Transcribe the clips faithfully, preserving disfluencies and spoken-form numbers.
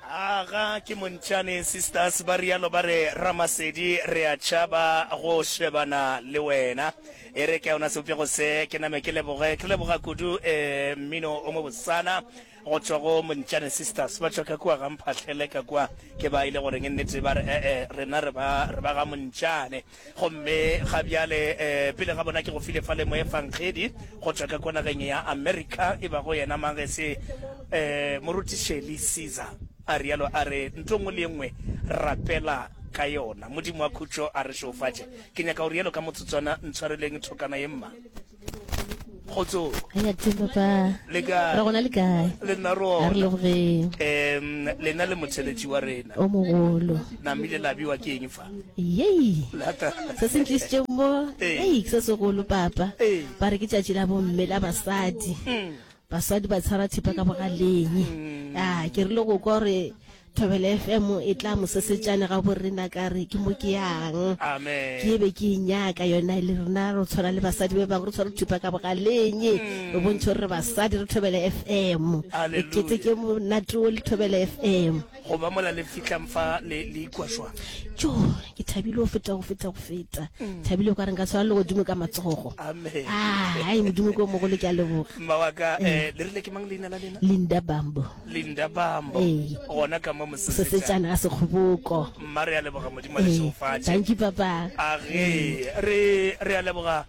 Aga ke Montšane Sisters ba rialo ba re Ramasedi re a tšhaba go shebana le wena. E re ka yona sebopego se ke name ke leboge ke leboga kudu eh, mmino o mo bosana go tšwa go Montšane Sisters ba tšwa ka kua ga Mphahlele ka kua ke ba ile goreng nnete ba re eh eh rena re ba re ba ga Montšane. Gomme ga bjale eh, pele ga bona ke go file fale moefangedi go tšwa ka kua nageng ya Amerika e bago yena Mangese eh, Moruti Shirley Caesar a rialo a re ntho nngwe le ye nngwe rapela ka yona. Modimo wa khutšo a re šeofatše. Ke nyaka go rialo ka motsotswana, ntshwareleng thokana ye mma. Kgotsong. Re a teng papa. Le kae? Re gona le kae? Le nna re A re gona. lebogeng. Em, lena le motheletši wa rena. O mogolo. Namile la biwa ke eng fa? Yei. Lata. Se se ntlisitšeng mo, Ee. ei, ke se segolo papa. Ee. Ba re ke tšatši la bomme la basadi. Mm. Basadi ba tshwara thipa ka bogaleng. Ah, ke rile go kwa gore Thobela F M e tla mosesetšane ga borena ka re ke mo ke yang. Amen. Ke be ke e nyaka yona le rena re tshwana le basadi ba bangwe re tshware thupa ka bogaleng. Re bontšhe gore re basadi re Thobela F M. Re Hallelujah. keteke monate wo le Thobela F M. Go ba mola le fihlang fa le le ikwa jwang? Tjo, ke thabile go feta go feta go feta. Thabile o ka re nka tshwara legodimo ka matsogo. Amen. Ah, ai Modimo ke o mogolo ke a leboga. Mma wa ka, eh, le rile ke mang leina la lena? Linda Bambo. Linda Bambo. Ee. Gona ka mo Mosesetsana. Mosesetsana ga Sekgoboko. Mma re a leboga Modimo a le Ee. šegofatše. Thank you papa. A ge re re a leboga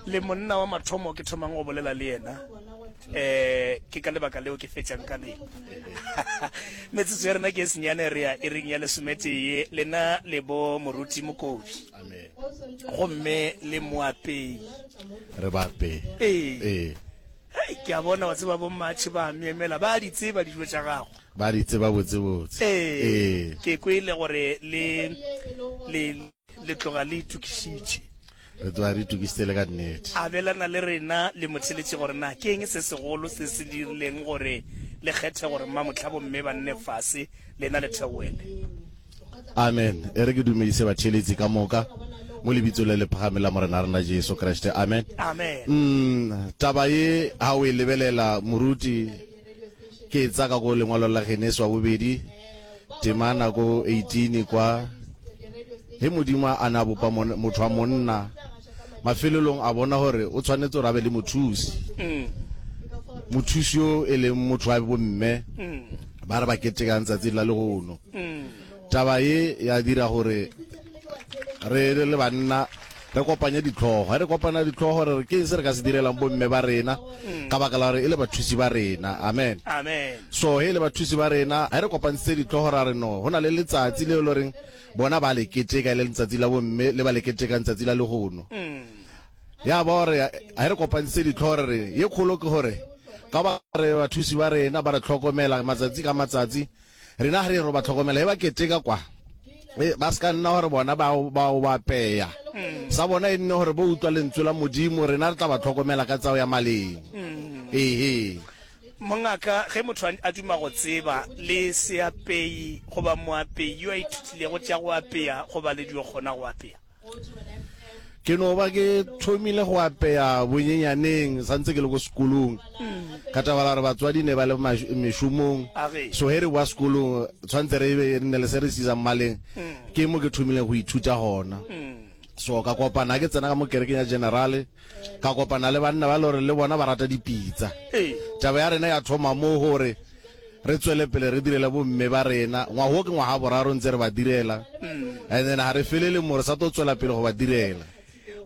le monna wa mathomo ke thomang go bolela le yena eh ke ka lebaka leo ke fetšang ka lena. Metsotso ya rena ke e senyane re ya iring ya lesometee lena le bo moruti Mokobi. Amen. Gomme le moapei. Re baapei. Ee. Ee. Hei, ke a bona wa tseba bommatšhe ba a myemela, ba a di tseba dijo tša gago. Ba di tseba botsebotse. Ee, Ee. ke kwele gore le, le, le tloga le itokišitše. Re tloga re itokisitse le ka nnete. Abelana le rena le motheletši gore na ke eng se segolo se se dirileng gore le kgethe gore mmamohla bomme ba nne fase lena le theoele. Amen. E re ke dumedise batheeletsi ka moka mo lebitsong le le phagameng la Morena rena Jesu Kriste. Amen. Amen. Mm, taba ye ha o e lebelela moruti ke e tsaka ko lengwalo la Genesi wa bobedi temana ko eighteen kwa he Modimo a na bopa motho wa monna mafelelong a bona gore o tshwanetse gore a be le mothusi. Mm. Mothusi yo e leng motho wa bomme Mm. ba re ba ketekang tsatsing la lehono. Mm. Taba ye ya dira gore re le banna re kopanye ditlhogo. Ge re kopana ditlhogo re re ke eng se re ka se direlang bomme ba rena ka baka la gore e le bathusi ba rena. Amen. Amen. So he le bathusi ba rena ge re kopantshitse ditlhogo ra re no go na le letsatsi le le reng bona ba le keteka e le letsatsi la bomme le ba le ketekang tsatsi la lehono. Mm. Ya ba gore ge re kopantshitse ditlhogo re re ye kgolo ke gore ka ba re bathusi ba rena ba re tlhokomela matsatsi ka matsatsi rena ga re re ba tlhokomela e ba keteka kwa e ba se ka nna gore bona ba ba o ba peya sa bona e nne gore bo utlwa lentswe la Modimo rena re tla ba tlhokomela ka tsao ya maleng. Ehe. Mongaka, ge motho a duma go tseba le seapei goba moapei yo a ithutilego tša go apea goba le dio kgona go apea? Ke no ba ke thomile go apea bonyenyaneng santse ke le ko sekolong ka taba la gore batswadi ne ba le mešomong. Age. So he re boa sekolong tshwantse re be re nne le se re se isang maleng. Ke mo ke thomileng go ithuta gona. So ka kopana ke tsena ka mo kerekeng ya general ka kopana le banna ba le gore le bona ba rata dipitsa. Ee. Taba ya rena ya thoma mo gore re tswele pele re direle bomme ba rena. Ngwaga wo ke ngwaga boraro ntse re ba direla. And then ga re felele mo re sa tlo tswela pele go ba direla.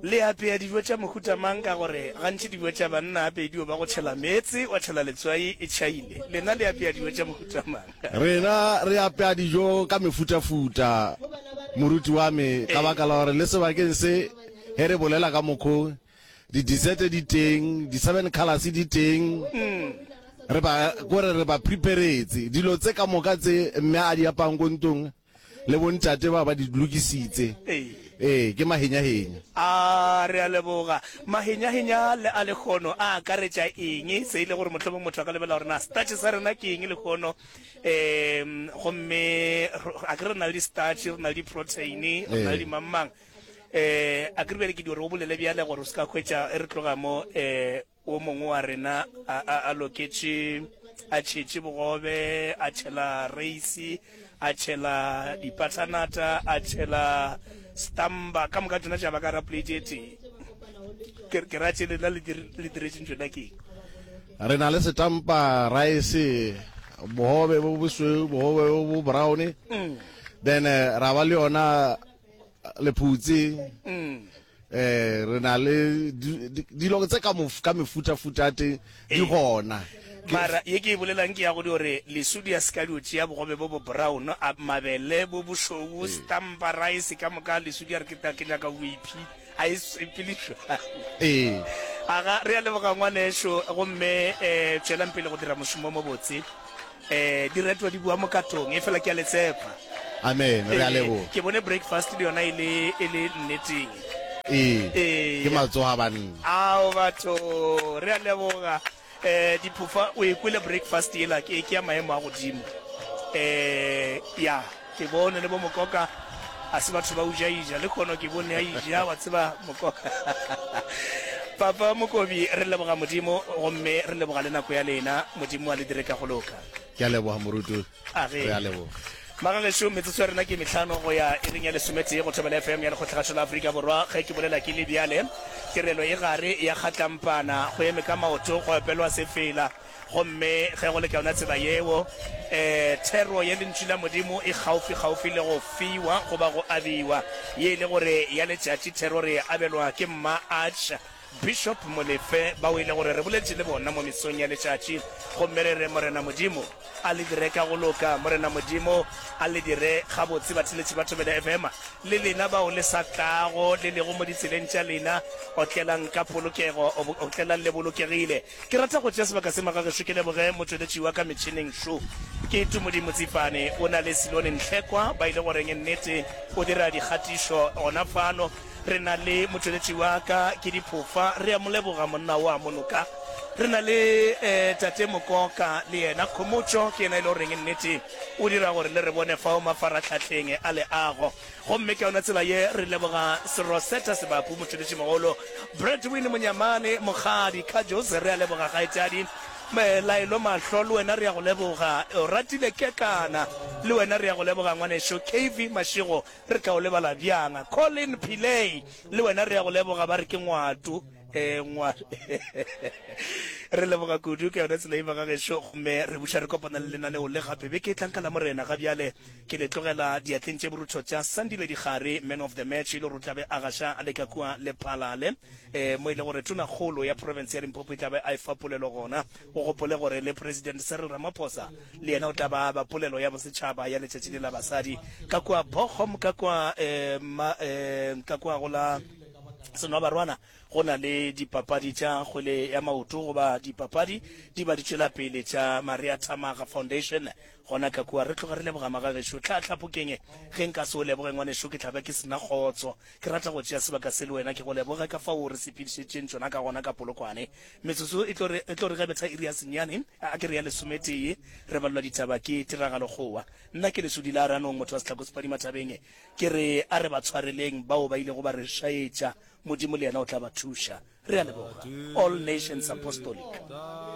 Le apea dijo tša mohuta mang ka gore gantši dijo tša banna ape dio ba go tšhela meetse wa tšhela letswai e tšhaile. Lena le apea dijo tša mohuta mang? Rena re apea dijo ka mefutafuta moruti wa me ka baka la gore le sebakeng se he re bolela ka mokgo di dessert di teng, di seven colors di teng. Re ba kore re ba preparetse dilo tse ka moka tse mme a di apang ko ntong le bontate ba ba di lokisitse. Ee. Ee, ke mahenyahenya. A re a leboga. Mahenyahenya le a lekgono a akaretša eng? Se ile gore mohlomong motho a ka lebela gore na starch sa rena ke eng lekgono. Em gomme a ke re na le di-starch, re na le di-protein, re na le dimangmang. Eh a ke re bjale ke di gore o bolele bjale gore o se ka hwetša e re tloga mo eh o mongwe wa rena a, a, a loketše a tšhetše bogobe, a tšhela reisi, a tšhela dipathanata, a tšhela stamba, ka moka tšona tša ba ka ra plate e tee. Ke, ke ra tše lena le diretšeng tšona ke eng? Re na le setampa, rice, bogobe bo bosweu, bogobe bo bo brown. Mm. Then eh, ra ba le yona lephutse. Mm. Eh, re na le dilo tse ka ka mefutafuta ya teng di Ee. gona. Ke Mara ye ke e bolelang ke ya go di gore lesudi a se ka dio tšea bogobe bo bo brown, a mabele bo bošweu, stampa, rice ka moka, lesudi a re ke ta ke nyaka whippy, a e sepele bjalo. Ee. Aga, re a leboga ngwanešo, gomme eh tšwelang pele go dira mošomo o mobotse. Eh diretwa di bua mokatong, efela ke a le tshepa. Amen, re a Ee, leboga. ke bone breakfast le yona e le e le nneteng. Ee, ke Ee. matsogo a banna. Ao batho, re a leboga. Eh diphofa, o e kwele breakfast yela, ke ke ya maemo a godimo. Eh ya, ke bone le bo Mokoka, a se batho ba uja ija, le kgono ke bone a ija, wa tseba Mokoka. Papa Mokobi, re leboga Modimo gomme re leboga le nako ya lena. Modimo a le dire ka go loka. Ke a leboga moruti. A ge. Re a leboga. Magagešo, metsotso ya rena ke mehlano go ya iring ya lesometee go Thobela F M ya Lekgotlagašo la Afrika Borwa. Ge ke bolela ke le bjale, tirelo e gare ya kgatlampana, go eme ka maoto, go opelwa sefela. Gomme ge go le ka yona tsela yeo, eh, thero ya Lentšu la Modimo e kgaufsi-kgaufsi le go fiwa goba go abiwa. Ye e le gore ya letšatši thero re e abelwa ke Mma Arch Bishop Molefe, bao e le gore re boletše le bona mo mesong ya letšatši, gomme re re, Morena Modimo a le dire ka go loka, Morena Modimo a le dire gabotse, batheeletši ba Thobela F M, le lena bao le sa tlago, le lego mo ditseleng tša lena, otlelang ka polokego, otlelang le bolokegile. Ke rata go tšea sebaka se magagešo ke leboge motšweletši wa ka metšhineng šo, ke Tumodi Motsifane, o na le Silone Nhlekwa, ba ile goreng nnete o dira dikgatišo gona fano. Re na le motšweletši wa ka, ke Diphofa, re a mo leboga monna wa monoka. Re na le eh, Tate Mokoka le yena, Khomotšo ke yena e le goreng nnete o dira gore le re bone fao mafaratlhahleng a leago. Gomme ka yona tsela ye re leboga Serosetta Sebapu, motšweletšimogolo, Bradwin Monyamane, Mokgadi Kajos, re a leboga kgaetšadi Laelo Mahlo, le wena re a go leboga. O ratile Kekana, le wena re a go leboga ngwanešo. K V Mashego, Re tla o lebala bjang? Colin Pillay, le wena re a go leboga, ba re ke ngwato. Eh, ngwa Re leboga kudu ka yona tsela ye ba gagešo, gomme re buša re kopana le lenaneo le gape beke e tlang ka Lamorena. Ga bjale ke le tlogela diatleng tše borutho tša Sandile Dikgare, man of the match, e le gore o tla be a gaša a le ka kua Lephalale, eh, mo e le gore tonakgolo ya profense ya Limpopo e tla be a efa polelo gona. O gopole gore le President Cyril Ramaphosa le yena o tla ba aba polelo ya bosetšhaba ya letšatši le la basadi ka kua Bochum, ka kua, eh, ma, eh, ka kua go la Senwabarwana. Go na le dipapadi tša kgwele ya maoto goba dipapadi di ba di tšwela pele tša Maria Thamaga Foundation gona ka kua. Re tloga re leboga magagešo. Tlhahla Phokeng, ge nka se o leboge ngwanešu ke tla be ke se na kgotso. Ke rata go tšea sebaka se le wena ke go leboge ka fao re sepedišetšeng tšona ka gona ka Polokwane. Metsotso e tlo re, e tlo re ge betha iri ya senyane, a ke re ya lesometee, re balelwa ditaba ke Tiragalo Kgowa. Nna ke Lesodi la Ranong, motho wa Sehlako Sephadima Thabeng. Ke re a re ba tshwareleng bao ba ilego ba re šaetša, Modimo le yena o tla ba thuša. Re a leboga. All Nations Apostolic.